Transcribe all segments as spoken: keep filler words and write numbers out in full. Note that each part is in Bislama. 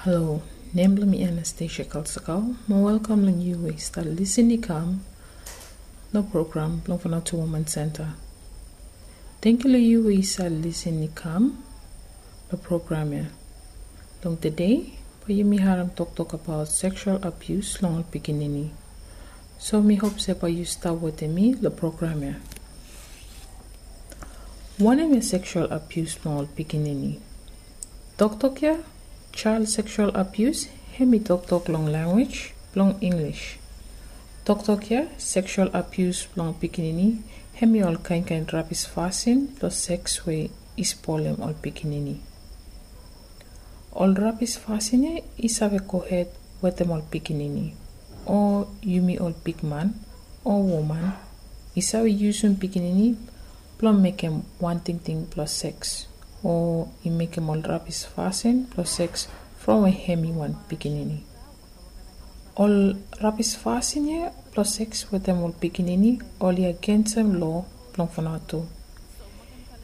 Halo, nem blong mi Anastasia Kalsakau. Mo welkam long yu we i stap lisin i kam long program blong Vanuatu Woman Center. Tangkiu long yu we i stap lisin i kam long program ya. Long tede, bae yumi harem toktok abaot seksual abius long ol pikinini. So mi hop se bae yu stap wetem mi long program ya. Wanem ya seksual abius blong ol pikinini? Toktok ya, child sexual abuse, hem i toktok long lanwis blong Inglis. Toktok ya, seksual abius blong pikinini, hem i ol kainkain rabis fasin blong seks we i spolem ol pikinini. Ol rabis fasin ya i save gohed wetem ol pikinini, o yumi ol bigman o woman i save yusum pikinini blong mekem wan tingting blong seks, o i mekem ol rabis fasin blong seks from we hem i wan pikinini. Ol rabis fasin ya blong seks wetem ol pikinini oli agensem loa blong Vanuatu.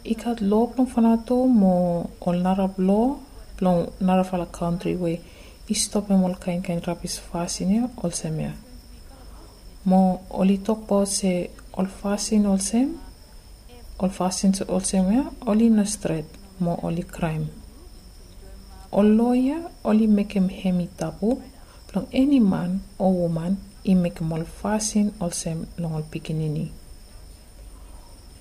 I gat loa blong Vanuatu mo ol narap loa blong narafala kantri we i stopem ol kainkain rabis fasin ya olsem ya. Mo oli tokbaot se ol fasin olsem, ol fasin olsem ya oli no stret mo oli kraem. Ol loa ya oli mekem hem i tabu blong eni man o woman i mekem ol fasin olsem long ol pikinini.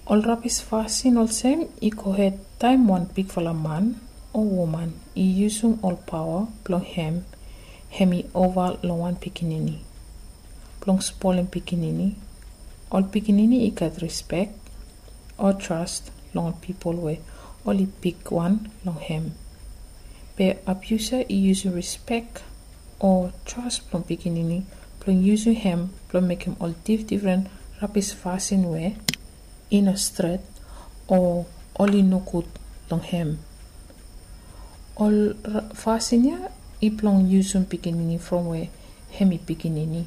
Ol rabis fasin olsem i gohed taem wan bigfala man o woman i yusum ol paoa blong hem, hem i ova long wan pikinini blong spolem pikinini. Ol pikinini i gat rispek o tras long ol pipol we oli bigwan long hem. Be abiusa i yusum rispek o tras blong pikinini blong yusum hem blong mekem ol difdifren rabis fasin we i no stret o oli nogud long hem. Ol fasin ya i blong yusum pikinini from we hem i pikinini.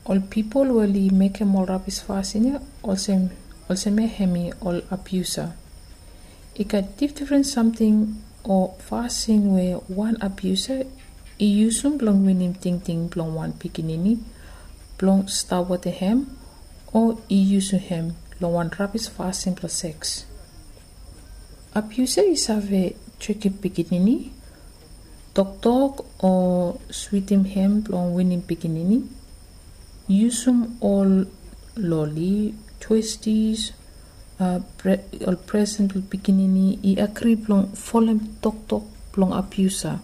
Ol pipol we oli mekem ol rabis fasin ya olsem, olsem ya hem i ol abiusa. I gat difdifren samting o fasin we wan abiusa i yusum blong winim tingting blong wan pikinini blong stap wetem hem, o i yusum hem long wan rabis fasin blong seks. Abiusa i save trikim pikinini, toktok o switim hem blong winim pikinini, yusum ol loli, twisties, ol presen blong pikinini i agri blong folem toktok blong abiusa,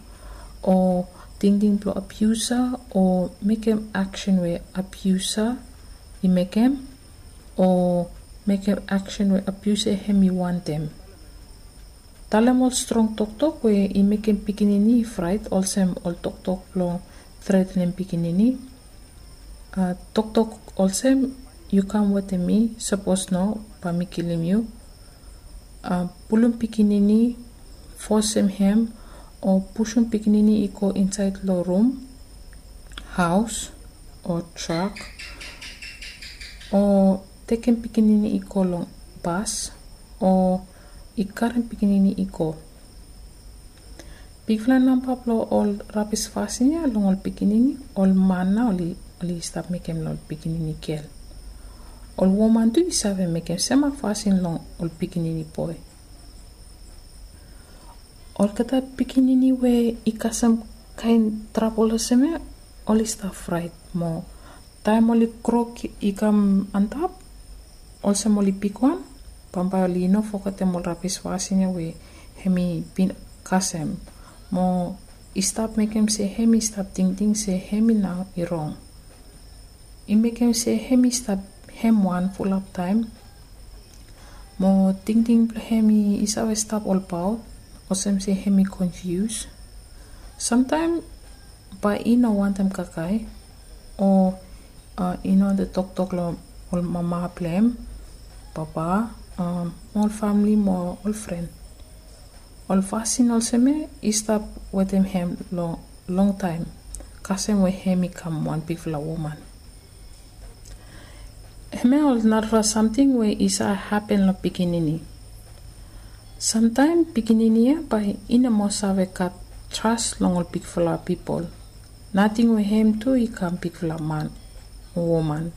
o tingting blong abiusa, o mekem aksen we abiusa i mekem, o mekem aksen we abiusa hem i wantem. Talem ol strong toktok we i mekem pikinini i fraet olsem ol toktok blong tretenem pikinini. Toktok olsem, yu kam wetem mi, sapos no bae mi kilim yu. Pulum pikinini, fosem hem o pusum pikinini i go insaed long rum, haos o trak, o tekem pikinini i go long bas, o i karem pikinini i go. Bigfala namba blong ol rabis fasin ya long ol pikinini, ol man nao oli, oli stap mekem long ol pikinini gel. Ol woman tu i save mekem sema fasin long ol pikinini boe. Olgeta pikinini we i kasem kaen trabol olsem ya, oli stap fraet mo taem oli gro i kam antap olsem oli bigwan, bambae oli no fogetem ol rabis fasin ya we hem i bin kasem, mo i stap mekem se hem i stap tingting se hem i nao i rong. I mekem se hem i stap hem wan fulap taem, mo tingting blong hem i save stap olbaot, olsem se hem i konfius. Samtaem bae i no wantem kakae, o i no wantem toktok long ol mama blong hem, papa, ol famle mo ol fren. Ol fasin olsem ya i stap wetem hem long longtaem, kasem we hem i kam wan bigfala woman. Hemia ol narafala samting we i save hapen long pikinini. Samtaem pikinini ya bae i no moa save gat tras long ol bigfala pipol. Nating we hem tu i kam bigfala man o woman.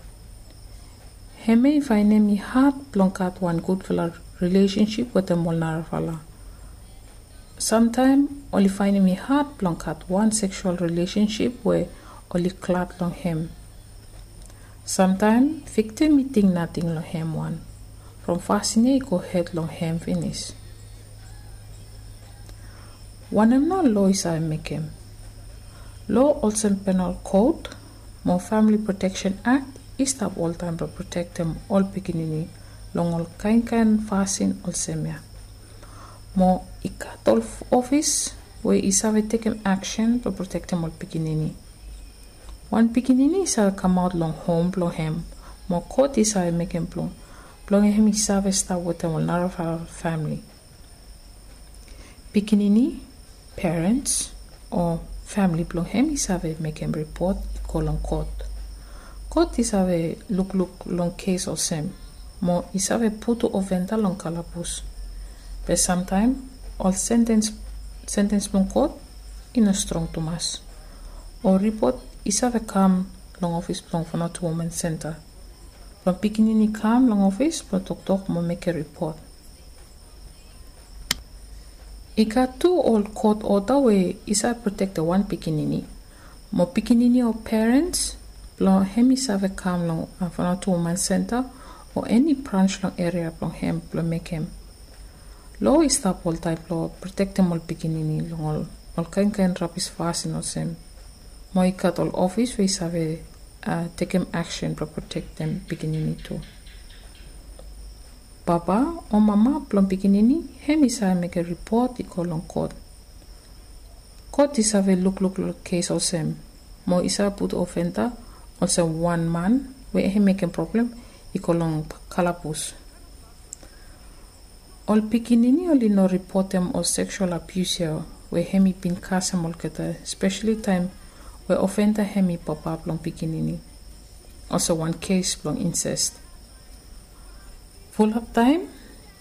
Hem ya i faenem i had blong gat wan gudfala rilesensip wetem ol narafala. Samtaem oli faenem i had blong gat wan seksual rilesensip we oli glad long hem. Samtaem viktim i ting nating long hem wan. From fasin ya i gohed long hem finis. Wanem nao lo i save mekem? Lo olsem penal kot mo famili proteksen akt i stap oltaem blong protektem ol pikinini long ol kaenkaen fasin olsem ya. Mo i gat ol ofis we i save tekem aksen blong protektem ol pikinini. Wan pikinini i save kamaot long hom blong hem mo kot i save mekem blong blong hem i save stap wetem ol narafala famili. Pikinini, perens o famili blong hem i save mekem ripot i go long kot. Kot i save lukluk long kes olsem mo i save putum ofenda long kalabus. Be samtaem ol sentens blong kot i no strong tumas. Ol ripot i save kam long ofis blong Vanuatu Women Center blong pikinini i kam long ofis blong toktok mo mekem ripot. I gat tu ol kot oda we i save protektem wan pikinini mo pikinini o perens blong hem i save kam long Vanuatu Women Center o eni brans long eria blong hem blong mekem. Lo i stap oltaem blong protektem ol pikinini long ol kaenkaen rabis fasin olsem. Mo i gat ol ofis we i save tekem aksen blong protektem pikinini tu. Papa o mama blong pikinini hem i save mekem ripot i go long kot. Kot i save lukluk long kes olsem mo i save putum ofenda olsem wan man we hem mekem problem i go long kalabus. Ol pikinini oli no ripotem ol seksual abius ya we hem i bin kasem olgeta, spesali taem we ofenda hem i papa blong pikinini. Olsem wan kes blong inses. Fulap taem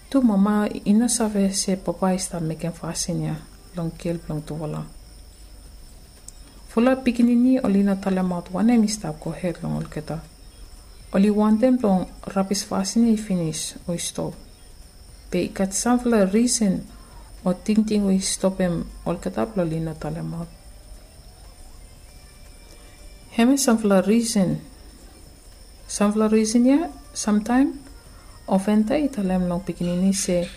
tu mama i no save se papa i stap mekem fasin ya long gel blong tufala. Fulap pikinini oli no talemaot wanem i stap gohed long olgeta. Oli wantem blong rabis fasin ya i finis o i stop. Be i gat samfala risen o tingting we i stopem olgeta blong oli no talemaot. Hemia samfala risen. Samfala risen ya samtaem ofenda i talem long pikinini se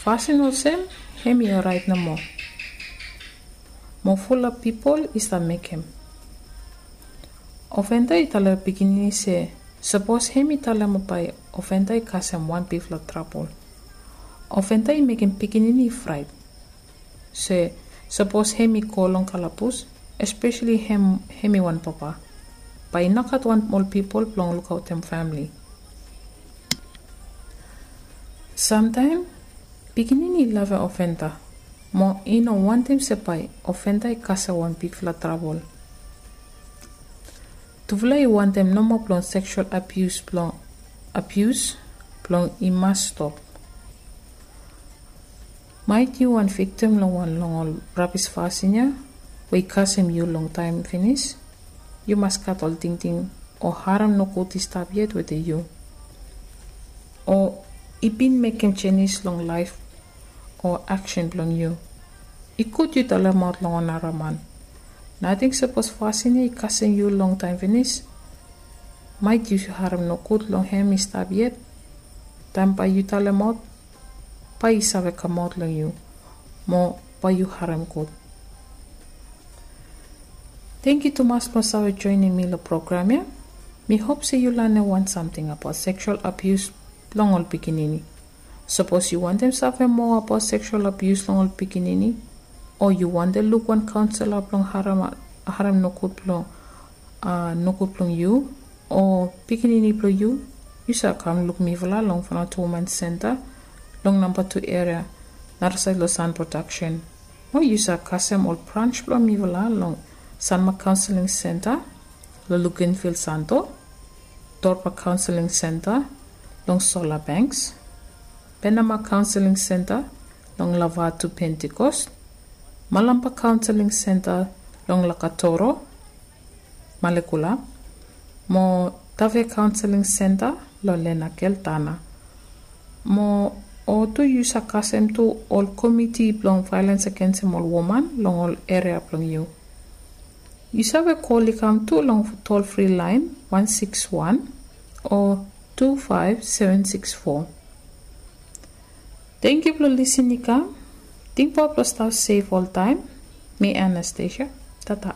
fasin olsem hem i oraet nomo. Mo fulap pipol i stap mekem. Ofenda i talem pikinini se sapos hem i talem bae ofenda i kasem wan bigfala trabol. Ofenda i mekem pikinini i fraet se sapos hem i go long kalabus, espesali hem hem i wan papa, bae i nogat wan ol pipol blong lukaotem famili. Samtaem pikinini i lavem ofenda mo i no wantem se bae ofenda i kasem wan bigfala trabol. Tufala i wantem nomo blong seksual abius blong abius blong i mas stop. Maet yu wan viktim long wan long ol rabis fasin ya we i kasem yu long taem finis, yu mas gat ol tingting o harem nogud i stap yet wetem yu o i bin mekem jenis long laef o aksen blong yu. I gud yu talemaot long wan nara man. Nating sapos fasin ya i kasem yu long taem finis, maet yu harem nogud long hem i stap yet. Taem bae yu talemaot bae i save kamaot long yu mo bae yu harem gud. Tangkiu tumas blong save joenem mi long program ya. Mi hop se yu lanem wan samting abaot seksual abius blong ol pikinini. Sapos yu wantem save moa abaot seksual abius long ol pikinini o yu wantem luk wan kaonsela blong harem harem nogud blong a nogud blong yu o pikinini blong yu, yu save kam luk mifala long Vanuatu Women Center long namba tu eria narasaed long San Production. O yu save kasem ol brans blong mifala long Sanma Counseling Center long Luganville Santo, Dorpa Counseling Center long Solar Banks, Penama Counseling Center long Lavatu Pentecost, Malampa Counseling Center long Lakatoro, Malekula, mo Tave Counseling Center long Lenakel, Tanna. Mo o tu yu save kasem tu ol komiti blong violence against ol woman long ol eria blong yu. Yu save kol i kam tu long toll free line one six one o two five seven six four. Thank you blong lisin i kam. Tingbaot blong stap safe oltaem. Mi Anastasia. Tata.